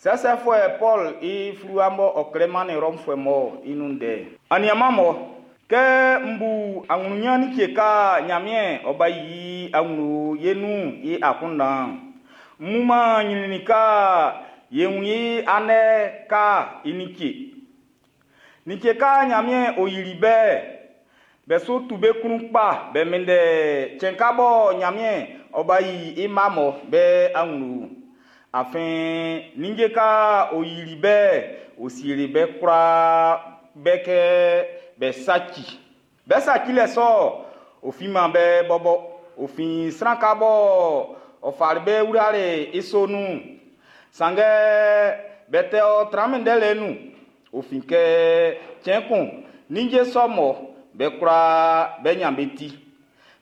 Sɛsɛfuɛ Pɔlu i fluwa mɔ ɔ klɛ mannin Rɔmfuɛ mun'n i nun ndɛ. Aniaanmun, kɛ m bu aɲrunɲan like ka Ɲanmiɛn ɔ ba yi i awlo ye nun i akunndan'n, m wunman ɲrɛnnɛn ka ye wun i andɛ ka i like. Like ka Ɲanmiɛn ɔ yili be'n, be su tu be klun kpa be minndɛ cɛn ka bɔ Ɲanmiɛn ɔ ba yi i mma mɔ be awlo. Afin ninnge ka ɔ yili be'n, ɔ sieli be kwlaa be kɛ be saci. Be sacilɛ sɔ'n, ɔ finman be bɔbɔ, ɔ fin sran ka bɔ ɔ fali be wlali i so nun'n. Sanngɛ be tɛ ɔ tran minndɛlɛ nun, ɔ fin kɛ cɛn kun ninnge sɔ mɔ be kwlaa be ɲan be ti.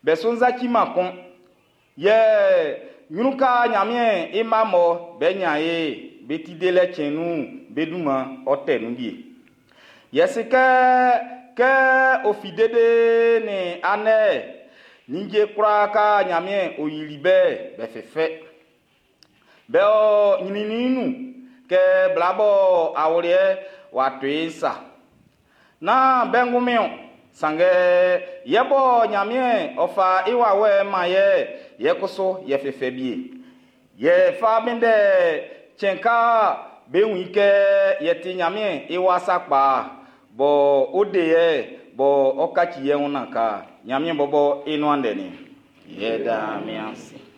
Be su saciman kun. Yɛ ɲrun ka Ɲanmiɛn i mma mɔ be ɲan e be ti delɛ cɛn nun'n, be dunman ɔ tɛ nun wie. Yɛ si kɛ kɛ ɔ fi dede nin andɛ ninnge kwlaa ka Ɲanmiɛn ɔ yili be be fɛfɛ. Be o ɲrɛnnɛn nun kɛ bla bɔ awuliɛ w'a to i sa. Nán be ngunmin o, sanngɛ yɛ bɔ Ɲanmiɛn ɔ fa i wawɛ'n man yɛ, yɛ kusu yɛ fɛfɛ bie. Yɛ fa minndɛ cɛn ka be wun i kɛ yɛ ti Ɲanmiɛn i wa sakpa bɔ o de yɛ bɔ ɔ kaci yɛ wun nan ka Ɲanmiɛn bɔbɔ i nuan ndɛ ni. Yɛ da mi ase.